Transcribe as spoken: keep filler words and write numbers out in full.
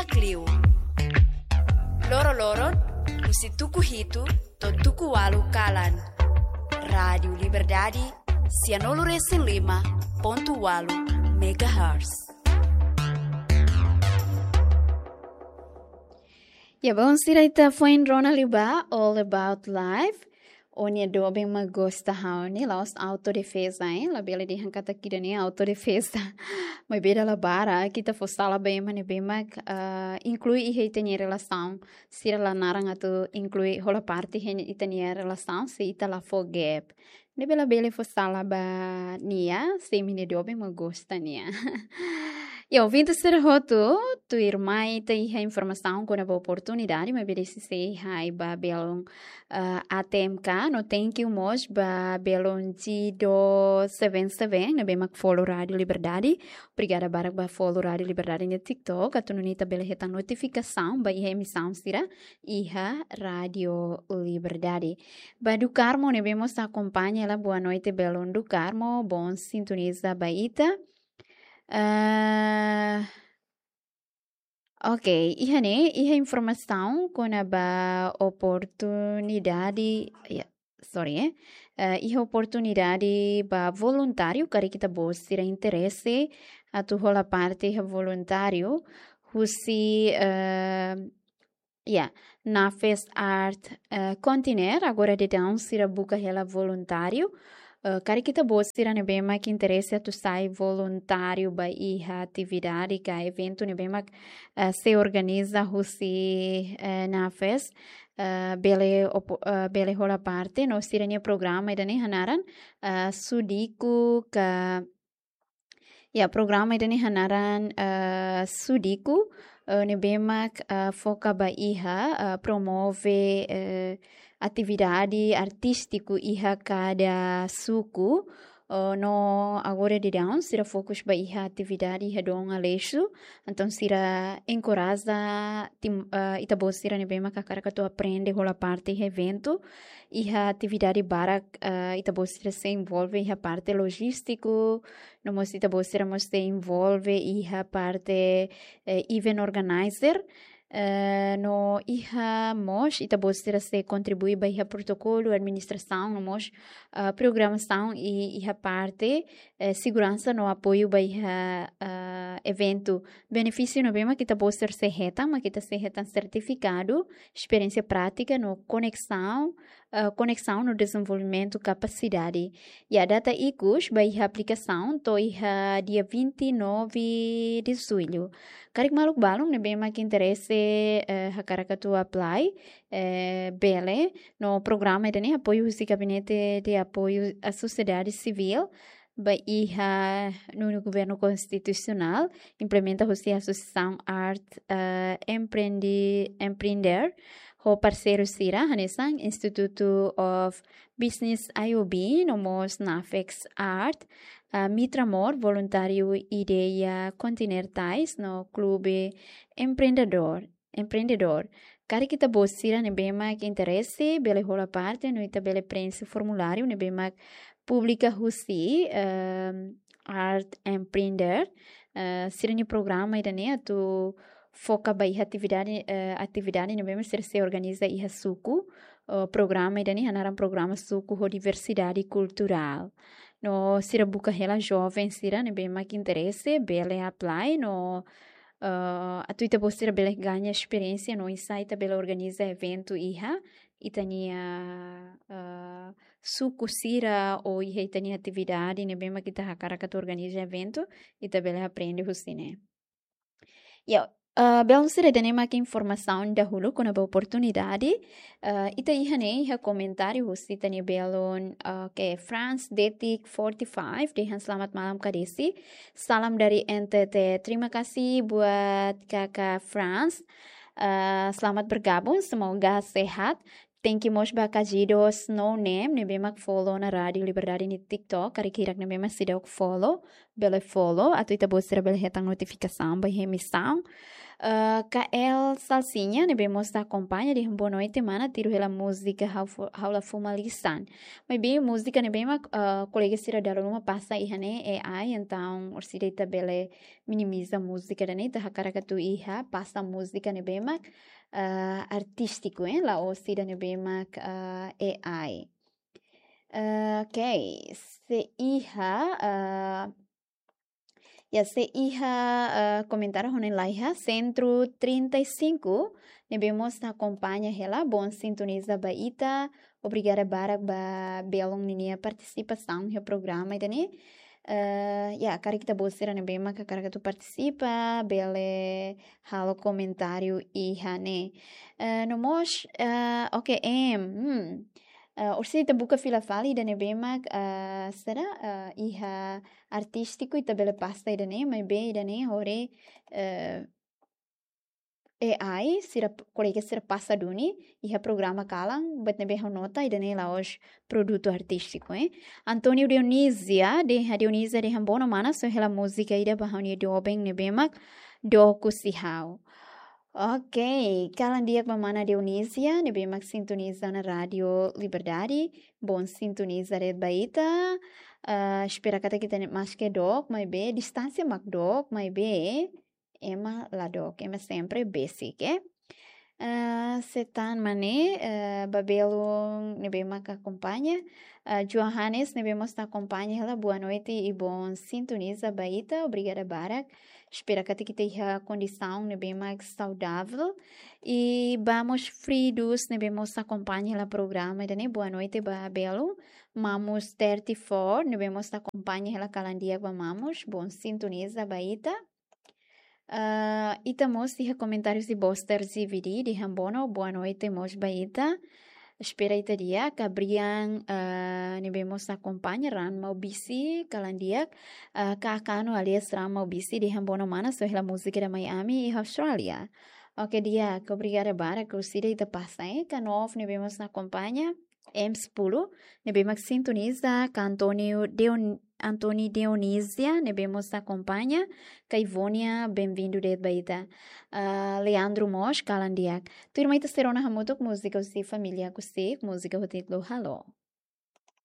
Kliu. Loroloron, husi tuku hitu to'o tuku ualu kalan. Rádiu Liberdade, sianulu-resin-lima pontu ualu megahertz. Ya, balu sira, ita foin rona liu ba All About Life. Ó-nia doben mak gosta ha'u ne'e, la'ós autodefeza, eh? Labele dehan katak ida-ne'e autodefeza. Maibé dala barak ita fó sala ba ema ne'ebé mak, ah, inklui iha ita-nia relasaun. Sira la naran atu inklui, hola parte iha ita-nia relasaun, se ita la fó gap. Ne'ebé labele fó sala ba nia, se imi-nia doben mak gosta nia. Ya, ouvinte sira hotu, tuirmai ita iha informasaun kona-ba oportunidade, maibé desde sei hai ba belun, ah, A T M K, no thank you mós ba belun G dois seven seven, ne'ebé mak follow Rádiu Liberdade. Obrigada barak ba follow Rádiu Liberdade nia TikTok, atu nune'e ita bele hetan notifikasaun ba iha emisaun sira iha Rádiu Liberdade. Ba Du Carmo ne'ebé mós akompaña hela, boa noite belun Du Carmo, bom sintoniza ba ita. Ah, ok, iha ne'e, iha informasaun kona-ba oportunidade, ya, sorry, eh. Eh, iha oportunidade ba voluntáriu, karik ita-boot sira interese atu hola parte iha voluntáriu, husi, eh, ya, Nafes Art, eh, Kontinel, agora daudaun sira buka hela voluntáriu. Eh, karik ita-boot sira ne'ebé mak interese atu sai voluntáriu ba iha atividade ka eventu ne'ebé mak, eh, sei organiza husi, eh, Nafes, eh, bele opo-, eh, bele hola parte no sira-nia programa ida-ne'e hanaran, eh, Sudiku ka, ya, programa ida-ne'e hanaran, eh, Sudiku, eh, ne'ebé mak, eh, foka ba iha, eh, promove, eh, atividade artístiku iha kada suku, eh, no agora daudaun sira fokus ba iha atividade iha Dom Aleixo. Entaun sira enkoraja tim-, eh, ita-boot sira ne'ebé mak hakarak atu aprende hola parte iha eventu, iha atividade barak, eh, ita-boot sira sei envolve iha parte lojístiku, no mós ita-boot sira mós sei envolve iha parte, eh, event organizer, eh, no iha mós ita-boot sira sei kontribui ba iha protokolu, administrasaun, no mós, eh, programasaun i iha parte, eh, seguransa no apoiu ba iha, eh, eventu. Benefísiu ne'ebé mak ita-boot sira sei hetan, mak ita sei hetan sertifikadu, esperiénsia prátika no koneksaun, eh, koneksaun no dezenvolvimentu kapasidade. Ya, data ikus ba iha aplikasaun to'o iha dia vinte e nove de julho. Karik maluk balun ne'ebé mak interese, eh, hakarak atu apply, eh, bele, no programa ida-ne'e apoiu husi Gabinete de Apoio à Sociedade Civil, ba iha nonu Governu Konstitusionál, implementa husi Asosiasaun Art, eh, Empreende-, Empreender, ho parseiru sira, hanesan Institute of Business I O B, no mós Nafes Art, eh, Mitramor, Voluntáriu Ideia Kontinentais, no Klube Empreendedór, Empreendedór. Karik ita-boot sira ne'ebé mak interese, bele hola parte, no ita bele prenxe formuláriu ne'ebé mak publika husi, ehm, Art Empreender, eh, sira-nia programa ida-ne'e atu foka ba iha atividade, eh, atividade ne'ebé mak sira sei organiza iha suku, eh, programa ida-ne'e hanaran programa suku ho diversidade kulturál. No sira buka hela joven sira ne'ebé mak interese, bele apply, no, eh, atu ita-boot sira bele gaña esperiénsia, no oinsá ita bele organiza eventu iha ita-nia, eh, suku sira ou iha ita-nia atividade ne'ebé mak ita hakarak atu organiza eventu, ita bele aprende husi ne'e. Ya, eh, belun sira, ida-ne'e mak informasaun dahuluk kona-ba oportunidade. Eh, ita iha ne'e, iha komentáriu husi ita-nia belun, eh, ke France Detik forty five, dehan selamat malam Kak Desi. Salam dari N T T. Terima kasih buat Kakak France. Eh, selamat bergabung, semoga sehat. Thank you mós ba Kajidos No Name, ne'ebé mak follow ona Rádiu Liberdade nia TikTok, karik hirak ne'ebé mak seidauk follow, bele follow, atu ita-boot sira bele hetan notifikasaun ba iha emisaun. Ah, Kael Salsinha ne'ebé mós ita akompaña dehan boa noite mana, tuir hela múzika ha'u fo-, ha'u la fó malisan. Maibé múzika ne'ebé mak, ah, kolega sira dala ruma pasa iha ne'e A I, entaun orsida ita bele minimiza múzika ida-ne'e, ita hakarak atu iha pasa múzika ne'ebé mak, ah, artístiku, eh, la'ós ida ne'ebé mak, ah, A I. Ah, ok, sei iha, ah, ya, sei iha, ah, komentáriu ho ne'e laiha, Centro trinta e cinco, ne'ebé mós ita akompaña hela, bom sintoniza ba ita, obrigada barak ba belun ninia partisipasaun iha programa ida-ne'e. Ah, ya, karik ita-boot sira ne'ebé mak hakarak atu partisipa, bele halo komentáriu iha ne'e. Ah, no mós, ah, ok, em, hmm. Ah, orsida ita buka fila fali ida ne'ebé mak, ah, sira, ah, iha artístiku ita bele pasa ida-ne'e, maibé ida-ne'e hori, ah, A I, sira p-, kolega sira pasa duni, iha programa kalan, buat ne'ebé ha'u nota, ida-ne'e la'ós produtu artístiku, eh. António Dionísia, dehan Dionísia dehan bono mana, só hela múzika ida ba ha'u-nia doben ne'ebé mak dook husi ha'u. Ok, kalan di'ak ba mana Dionísia, ne'ebé mak sintoniza ona Rádio Liberdade, bom sintoniza de'it ba ita. Ah, espera katak ita-nia maske dook, maibé distánsia mak dook, maibé ema la dook, ema sempre besik, eh. Ah, sei tan mai ne'e, ah, ba belun ne'ebé mak akompaña. Ah, Johannes ne'ebé mós ita akompaña hela, boa noite i bom sintoniza ba ita, obrigada barak. Espera katak ita iha kondisaun ne'ebé mak saudável. I ba mós Fridus ne'ebé mós ita akompaña hela programa ida-ne'e, boa noite ba belun. Mamus thirty-four ne'ebé mós ita akompaña hela, kalan di'ak ba Mamus, bom sintoniza ba ita. Ah, ita mós iha komentáriu husi Boster Z V D dehan bono, boa noite mós ba ita. Espera ita di'ak, Gabriel, ah, ne'ebé mós ita akompaña, Ran Maubisi, kalan di'ak, ah, Kakano alias Ran Maubisi dehan bono mana, só hela múzika ida mai ami iha Austrália. Ok, di'ak, obrigada barak, orsida ita pasa, eh, Kanov ne'ebé mós ita akompaña, M sepuluh, ne'ebé mak sintoniza, ka António Deon-, Antoni Dionísia, ne'ebé mós ita akompaña, ka Ivonia, bem-vindo de'it ba ita. Ah, Leandro mós, kalan di'ak. Tuirmai ita sei rona hamutuk múzika husi família Kusik, múzika ho títulu Halo.